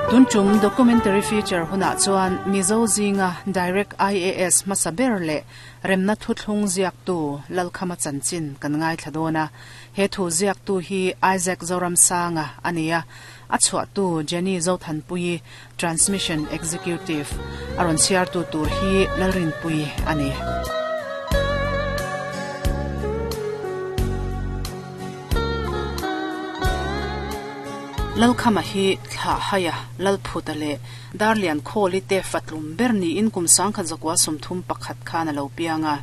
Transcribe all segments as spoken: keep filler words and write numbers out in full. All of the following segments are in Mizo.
Tunchum documentary feature huna chuan Mizo zinga direct I A S hmasa ber le remna thuthlung ziak tu Lalkhama chanchin kan ngai thladona he thu ziak tu hi Isaac Zoramsanga ania a chhuah tu Jenny Zothanpui transmission executive aron siar tu tur hi Lalrinpui ani. Lalkhama hi thla haya lalphuta le darlian kholi te fatlum berni in kum sangkha zakwa somthum pakhat khana lo pianga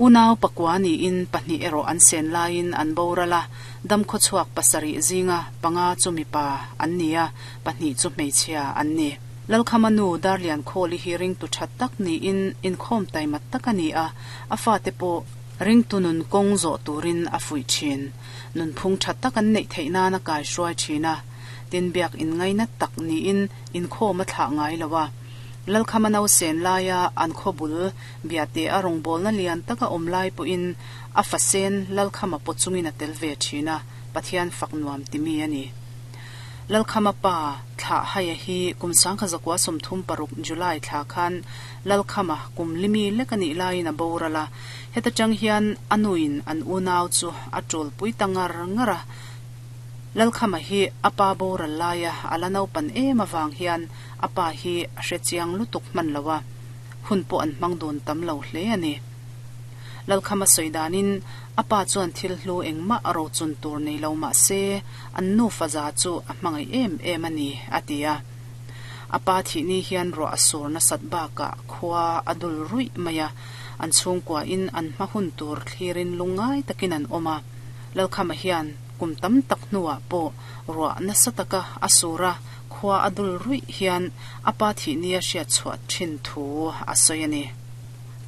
unaw pakwani in pahni ero an sen lain an borala dam kho chuak pasari zinga panga chumi pa an nia pahni chu hmeichhia an ni. Lalkhama nu darlian kholi hi ring tu that tak ni in in khom tai mat takani a afa te po ring tunun kong zo turin a fui chin nun phung that tak an nei theina na kai hruai thina tin biak in ngaina tak ni in in kho ma thla ngai lawa Lalkhama nau sen laia an khobul biate arong bol na lian taka om lai pu in a fasen Lalkhama pochungin a tel ve thina Pathian fak nuam timi ani. Lalkhama pa thla haya hi kum sangkha zakwa somthum paruk July thla khan Lalkhama kum limi lekani lain a borala heta chang hian anuin an unaw chu atol pui tangar ngara Lalkhama hi apa boral laia alanau pan em awang hian apa hi hrechiang lutuk man lawa hun po an mangdun tam lo hle ani. Lalkhama soidanin apa chuan thil hlu engma aro chun tur nei lo ma se an nu faza chu a hmangai em em ani atia apa thi ni hian ro asur na sat ba ka khwa adul rui maya an chhungkwa in an hmahun tur thlirin lungai takin an oma. Lalkhama hian kum tam tak nuwa po ro na sataka asura khwa adul rui hian apa thi ni a hria chhuat thin thu asoyani.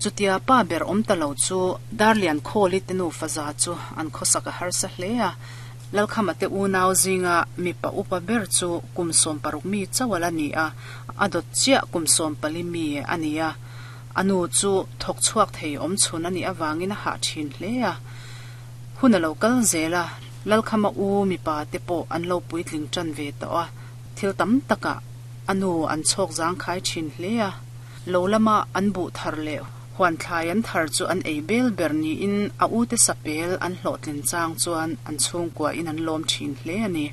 Chutia pa ber om talo chu darlian kholi tenu faza chu an khosaka har sa hlea Lalkhama te unaw zinga mi pa upa ber chu kumsom paruk mi chawala ni a adot chia kumsom pali mi ania anu chu thok chuak thei om chun ani awangin ha thin hlea huna lokal zela Lalkhama u mi pa te po an lo puitling chan ve to a thil tam taka anu an chok jang khai thin hlea lolama an bu thar le huan thlai an thar chu an ei bel ber ni in a u te sapel an hlotlin chang chuan an chhungkwa in an lom thin hle ani.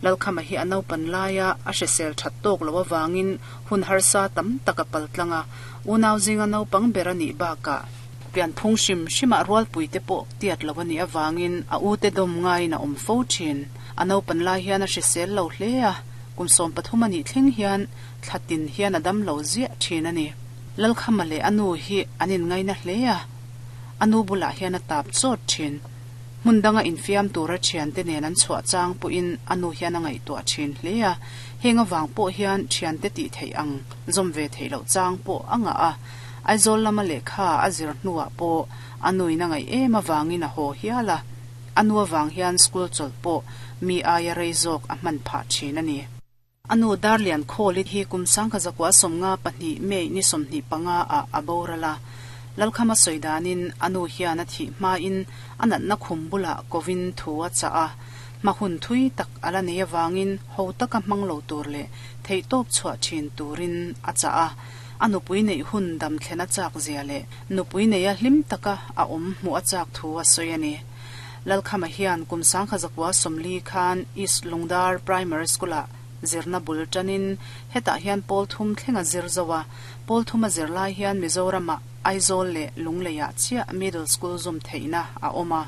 Lalkhama hi anau pan laia a hrisel that tok lo awangin hun harsa tam taka paltlanga unaw zinga nau pang ber ani ba ka pian phung shim shima rual pui te po tiat lo ani awangin a u te dom ngai na om fo thin anau pan lai hian a hrisel lo hle a kum som pathum ani thleng hian thlatin hian adam lo zia thin ani. Lalkhama le anu hi anin ngaina hlea anu bula hian a tap chot thin mundanga infiam tura thian te nen an chhuah chang pu in anu hian a ngai to thin hlea henga wang po hian thian te ti thei ang zom ve thei lo chang po anga a Aizawl lama lekha azir hnuah po anu in a ngai em awangin a haw hiala anu awang hian school chawlh pawh mi aia rei zawk a hman phah thin ani. Anu darlian kholi hi kum sangkha zakwa somnga pahnih mei ni somhnih panga a aborala Lalkhama soidanin anu hian a thi hma in anat na khumbula kovin thuwa cha a mahun thui tak ala nei awangin ho taka hmanglo tur le thei top chhuah thin turin a cha a anupui nei hun dam thlena chak zia le nupui nei a hlim taka a om hmu a chak thu a soiani. Lalkhama hian kum sangkha zakwa somli khan East Lungdar Primary School a zirna bul tanin heta hian pol thum thlenga zir zawa pol thuma zir lai hian Mizoram Aizawl le Lungleia chia middle school zum theina a oma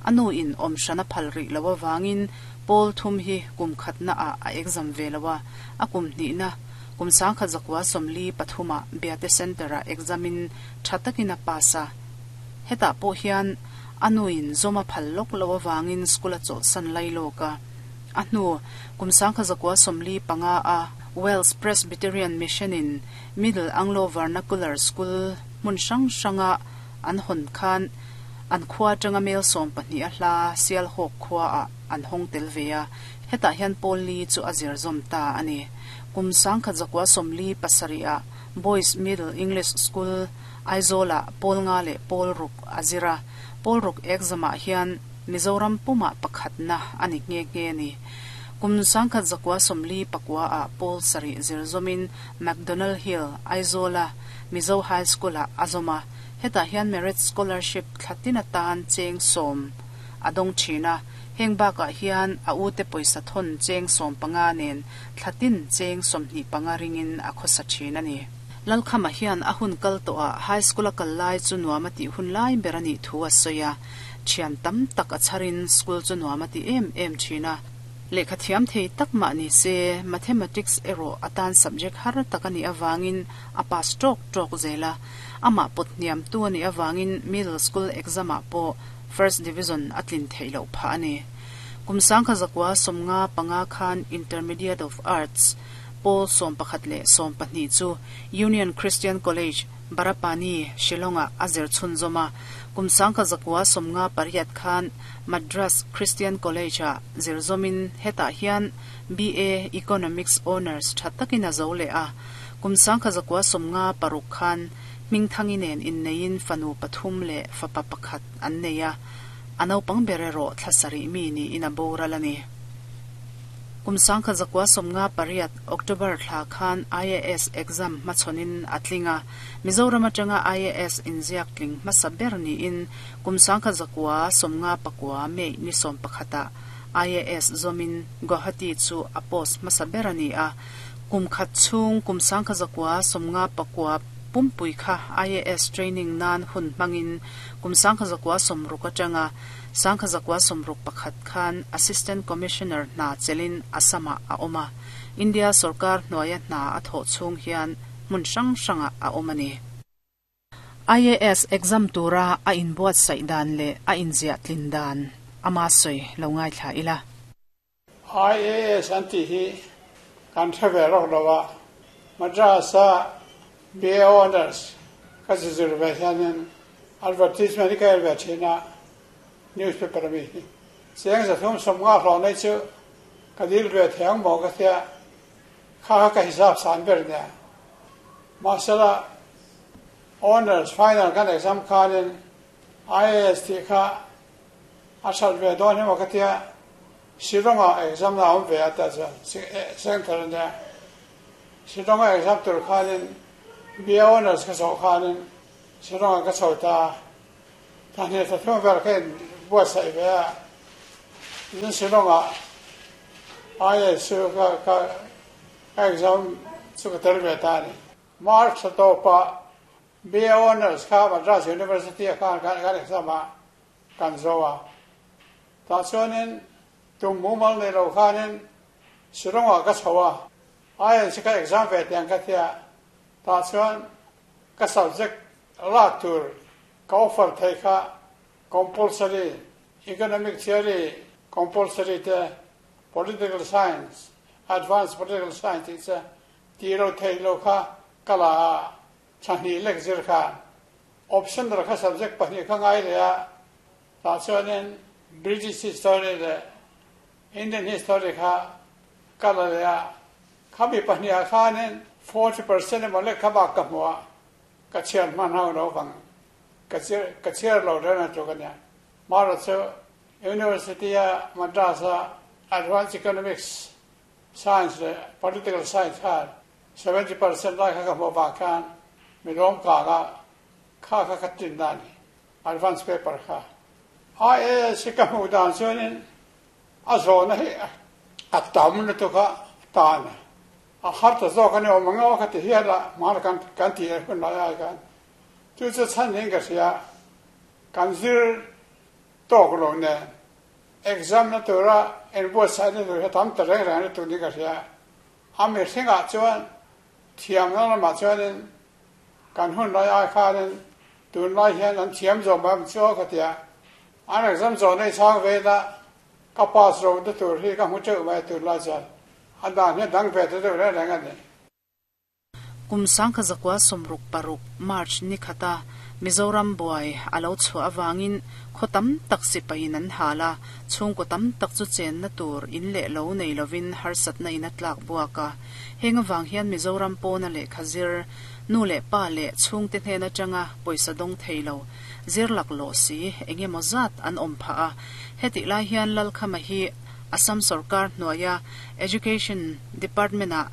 anu in om shana phalri lawa wangin pol thum hi kum khatna a a exam velawa a kum ni na kum sangkha zakwa somli pathuma biate center a examin thatakina pasa heta po hian anu in zoma phallok lawa wangin school a chol san lai loka ahnu kum sangkha zakwa somli panga a Wales Presbyterian Mission in Middle Anglo Vernacular School mun sang sanga an hon khan an khwa tanga mel som pahnih a hla sial hawk khwa a an hong tel veya heta hian poli chu azir zom ta ani kum sangkha zakwa somli pasari a Boys Middle English School Aizola polnga le polruk azira polruk exam ah hian Mizoram puma pakhatna ani nge nge ni. Kum sangkhat zakua sawmli pakua ah pawl sarih zir zawmin McDonald Hill, Aizawl-a Mizo High School-ah a zawm a, hetah hian Merit Scholarship thla tin atan cheng sawm a dawng thin a, heng bakah hian a ute pawisa thawn cheng sawm panga nen thla tin cheng sawmhnih panga ringin a khawsa thin a ni. Lalkhama hian a hun kal tawhah High School-a kal lai chu nuam a tih hun lai ber a nih thu a sawi a, thian tam tak a chharin school chu nuam a ti em em thin a. Lehkha thiam thei tak mah ni se, Mathematics erawh atan subject har tak a nih avangin a pass tawk tawk zel a, amah pawt hniam tu a nih avangin Middle School exam-ah pawh First Division a tlin theih loh phah a ni. Kum sangkha zakua sawmnga panga khan Intermediate of Arts pawl sawm pakhat leh sawm pahnih chu Union Christian College, Barapani, Shillong-ah a zir chhunzawm a. Kum sangkha zakua sawmnga pariat khan Madras Christian College-ah zir zawmin hetah hian B A Economics Honours tha takin a zo leh a. Kum sangkha zakua sawmnga paruk khan hmingthangi nen inneiin fanu pathum leh fapa pakhat an nei a, a naupang ber erawh thla sarih mi niin a boral a ni. Kum sangkha zakua sawmnga pariat October thla khan I A S exam hmachhawnin a tling a, Mizoram atanga I A S inziak tling hmasa ber niin kum sangkha zakua sawmnga pakua May ni sawm pakhatah I A S zawmin Guwahati chu a post hmasa ber a ni a, kum khat chhung kum sangkha zakua sawmnga pakua pumpui kha I A S training nan hun hmangin kum sangkha zakua sawmruk atanga sangkha zakua sawmruk pakhat khan Assistant Commissioner hna chelin Assam-ah a awm a, India sarkar hnuaia hna a thawh chhung hian hmun hrang hrangah a awm a ni. I A S exam tura a inbuatsaih dan leh a inziah tlin dan ama sawi lo ngaithla ila. I A S an tih hi kan hre ve rawk lo a, Madras-a B A Honours ka zizir ve hianin advertisement hi ka el ve thin a, newspaper ami hi. Cheng zathum sawmnga hlawh nei chu ka dil ve thei ang maw ka tia, kha kha ka hisap san ber nia. Mahsela Honours final kan exam khanin I A S tih kha a that ve dawn hi maw ka tia, Shillong-ah exam na awm ve a ta chuan center ania. Shillong-a exam tur khanin B A Honours ka chhoh khanin Shillong-ah ka chho ta. Thahne thathum vel kha in buatsaih ve a, tin Shillong-ah I A S chu ka ka exam chu ka tel ve ta a ni. March thla tawpah B A Honours kha Madras University-ah khan kan exam a kan zo a. Tah chuanin tum mumal nei lo khanin Shillong-ah ka chho a, I A S ka exam ve tiang ka tia. Tah chuan ka subject lak tur ka offer thei kha compulsory, economic theory compulsory te, political science, advanced political science tih che tih lo theih lo kha ka la a, thahnih lek zir khan optional kha subject pahnih kha ngai leh a, tah chuanin British history leh Indian history kha ka la leh a, khami pahnih ah khanin forty percent emaw lek kha bak ka hmu a, ka chhiar hman ho lo vang ka chhiar ka chhiar lo reng a tluk a nia. Mara chu University a Madras a Advanced Economics Science leh Political Science khan seventy percent lai kha ka hmuh vang khan mi lawm kang a kha kha ka tin na a ni advance paper kha. I A S hi ka hmuh dan chuanin a zawhna hi a tam lutuk a tan a, a har ta zawk a ni awm ang aw ka ti hial a, hmana kan kan tih leh hun lai ai khan chu chu chhan niin ka hria, kan zir tawk lo nen exam na tura inbuatsaih na tur hi tam ta reng reng lutuk niin ka hria. A mihringah chuan thiamna lamah chuanin kan hun lai ai khanin tunlai hian an thiam zawm am chu aw ka ti a, an exam zawh nei chhang vela ka pass ro na tur hi ka hmu teuh mai tunlai chuan a dan hian dang ve ta deuh reng reng a ni. Kum sangkha zakua sawmruk paruk March ni khata Mizoram buai a lo chhuah avangin khaw tam tak sipahin an hal a, chhungkaw tam tak chu chenna tur in leh lo nei lovin harsatna in a tlak buak a. Heng avang hian Mizoram pawna lehkha zir, nu leh pa leh chhungte hnen atanga pawisa dawng thei lo, zir lak lawh si eng emaw zat an awm phah a. Hetih lai hian Lalkhama hi Assam Sarkar hnuaia Education Department ah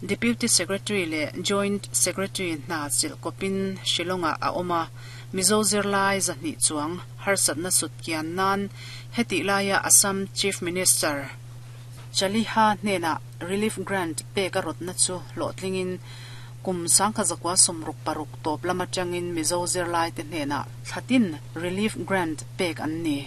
Deputy Secretary leh Joint Secretary hna chilh kawpin Shillong ah a awm a, Mizo zirlai zahnih chuang harsatna sut kian nan hetih laia Assam Chief Minister Chaliha hnenah Relief Grant pek a rawtna chu hlawhtlingin kum sangkhat zakua sawmruk paruk tawp lam atangin Mizo zirlai te hnenah thlatin Relief Grant pek an ni.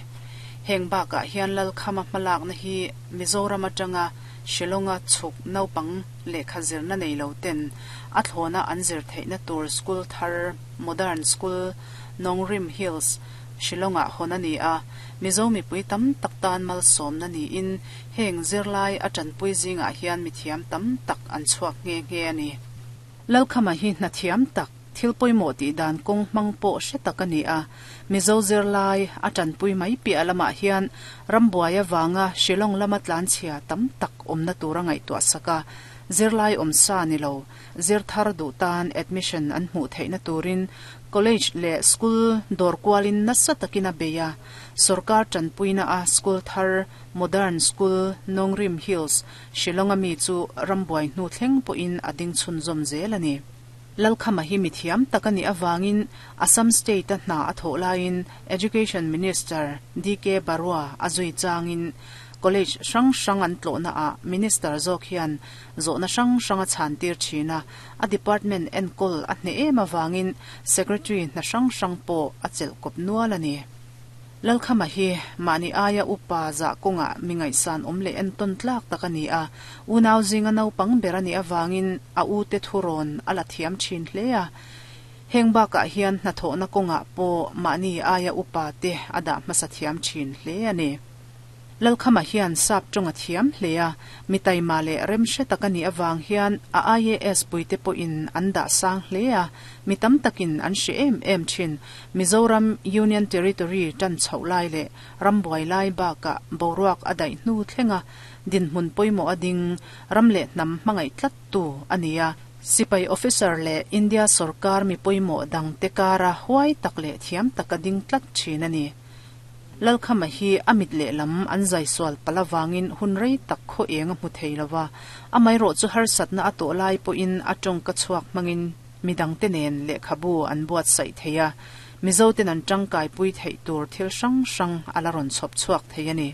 Heng bakah hian Lalkhama hmalakna hi Mizoram atanga Shillonga chhuk naupang lehkha zirna nei lo ten a thlawna an zir theihna tur school thar Modern School Nongrim Hills Shillongah hawn a ni a, Mizo mipui tam tak tan malsawmna niin heng zirlai a tanpui zingah hian mithiam tam tak an chhuak nghe nghe a ni. Lalkhama hi hnathiam tak, thil pawimawh tih dan kawng hmang pawh hre tak a ni a, Mizo zirlai a tanpui mai piah lamah hian rambuai avanga Shillong lama tlanchhia tam tak awmna tura ngaihtuah sak a, zirlai awmsa ni lo, zir thar duh tan admission an hmuh theihna turin college leh school dawr kualin nasa takin a bei a, sorkar tanpuina a school thar Modern School Nongrim Hills Shillong ami chu rambuai hnu thleng pawhin a ding chhunzawm zel a ni. Lalkhama hi mithiam tak a nih avangin Assam State a hna a thawh laiin Education Minister D K Barua a zui changin College hrang hrang an tlawhna ah Minister zawk hian zawhna hrang hrang a chhan tir thin a, a department enkawl a hneh em avangin Secretary hna hrang hrang pawh a chelh kawp nual a ni. Lalkhama hi mahni aia upa zah kawngah mi ngaihsan awm leh entawn tlak tak a ni a, unau zinga naupang ber a nih avangin a ute thurawn a la thiam thin hle a. Heng bakah hian hnathawhna kawngah pawh mahni aia upa te a dah hmasa thiam thin hle a ni. Lalkhama hian sap tawng a thiam hle a, mi taima leh remhre tak a nih avang hian a I A S puite pawhin an dah sang hle a, mi tam takin an hre em em thin. Mizoram Union Territory tan chhoh lai leh rambuai lai bakah boruak a daih hnu thlenga dinhmun pawimawh a ding ram leh hnam hmangaih tlattu a ni a, sipai officer leh India sorkar mi pawimawh dangte kara huai tak leh thiam taka ding tlat thin a ni. Lalkhama hi a mit lehlam an zai sual palh avangin hun rei tak khaw eng a hmu thei lo va, amaherawh chu harsatna a tawh lai pawhin a tawngka chhuak hmangin midangte nen lehkhabu an buatsaih thei a, Mizoten an tangkaipui theih tur thil hrang hrang a la rawn chhawp chhuak thei a ni.